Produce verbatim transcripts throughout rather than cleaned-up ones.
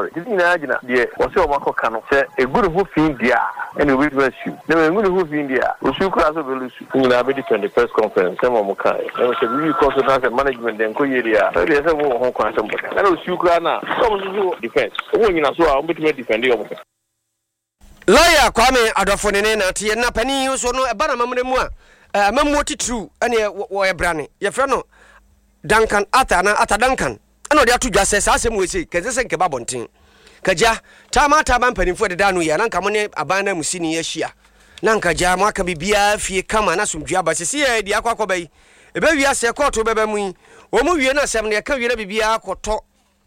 Sorry, ne nyinaa gyina deɛ wɔsɛ wɔn akɔka no sɛ egu ne ho fi deɛ a, ɛna obetumi asue na egu ne ho fi deɛ a, osu koraa sɛ ɔbɛlose. Ne nyinaa bɛ depend press conference sɛ wɔn ka ɛna sɛ biribi kɔ so na sɛ management deɛ nkɔ yie deɛ a, ɛdeɛ sɛ wɔn wɔ ho kwan sɛ mbɔka ɛna osu koraa na sɛ wɔn nso so defence wɔn nyina so a, wɔn bɛtumi defend wɔn. Lawyer Kwame Adɔfo ne ne nateɛ na panin nso no ɛba na amammerɛ mu a, amammuo titiriw ɛne wɔyɛ brane yɛfrɛ no Duncan Arthur na Arthur Duncan ɛna ɔde ato dwa sɛ saa asɛm wɔ sei kɛnsɛ sɛ nkɛba abɔnten kagya taama taama mpanimfoɔ deda no yɛ na nka mo ne aban no amusini ahyia na nka gya mo aka biribiara fie kama na asomdwe aba. Sisi yɛ di akɔ akɔba yi ɛbɛwie asɛ kɔɔto bɛba mu yi, wɔn mu wie no, asɛm no yɛka wie na biribiara akɔtɔ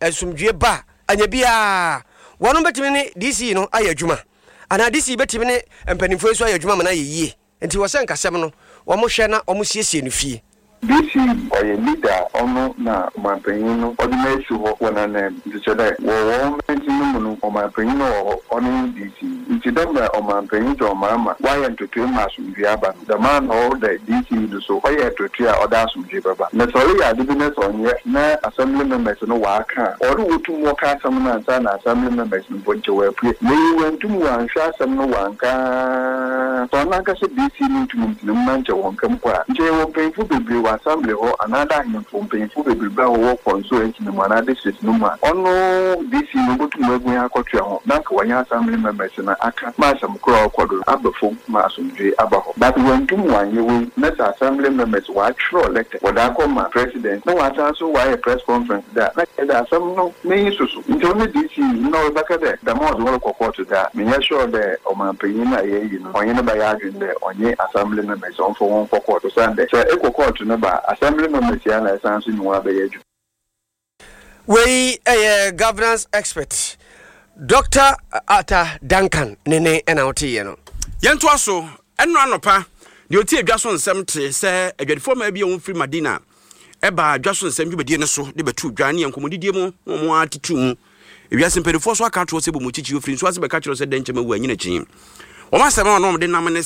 asomdwe ba anya biara, wɔn bɛtumi ne D C no ayɛ adwuma anaa D C bɛtumi ne mpanimfoɔ nso ayɛ adwuma ma no ayɛ yie. Nti wɔ sɛ nkasɛm no wɔn hwɛ na wɔn siesie no fie. D C ɔyɛ leader a ɔno na ɔmanpanyin no ɔde no esi hɔ wɔ n'anan mu, nti kyerɛ dɛ wɔ wɔn mansin no mu no, ɔmanpanyin no wɔ hɔ, ɔno ne D C. Nti dɛ mmerɛ ɔmanpanyin John Mahama wayɛ ntotoe ma asomdwe aba no, dɛm ara na ɔwɔ dɛ D C no so ɔyɛ ntotoe a ɔde asomdwe bɛba. Na sɛ ɔreyɛ ade bi na sɛ ɔnyɛ na assembly members no wɔaka a, ɔre wotum wɔka asɛm no ansa na assembly members no mpo nkyɛ wɔapue. Na eyi wɔntum wɔanhwɛ asɛm no wɔanka sɛ ɔno ankasa D C no ntum ntena mu na nkyɛ wɔnka mpo a, nkyɛ yɛwɔ mpanyinfo bebree wɔ assembly hɔ anaadɛ ahemfo mpanyinfo bebree a wɔwɔ constituency no mu anaa district no mu a, ɔno D C no obotum agu akɔtoa ho na nka wɔnyɛ assembly members no aka ma asɛm koro a ɔkɔ do aba fam ma asomdwe aba hɔ. But wɔntum wɔanyɛ wei na sɛ assembly members wɔatwerɛ letter wɔde akɔ ma president na wɔasan so wɔayɛ press conference da na kyerɛ dɛ asɛm no n'enyi soso. Nti ɔno D C na ɔrebɛka dɛ dɛm a ɔde wɔrekɔ court da, menyɛ sure dɛ ɔmanpanyin no a yɛayi no ɔnye no bɛyɛ adwene dɛ ɔnye assembly members ɔmfa wɔn kɔ court, osiane dɛ sɛ ekɔ court no ba, assembly members yi a na ɛsan so nye wɔn abɛyɛ adwuma. Wei ɛyɛ governance expert Doctor Arthur Duncan ne ne ɛna woteeɛ no. Yɛntoa so. Ɛno anɔpa deɛ ɔtie adwa so nsɛm te sɛ adwadifoɔ maa bi a wɔmfiri Madina ɛba adwa so nsɛm dwumadie no so de bɛto dwa ne yɛ nkɔmmɔdidie mu na wɔn atetu mu. Ewiase mpanimfoɔ so aka atoɔ sɛ bɔ mu kyikyi ofiri nso ase bɛka kyerɛ sɛ dɛn nkyɛn awu anyina akyi wɔn asɛm a wɔn de nam ne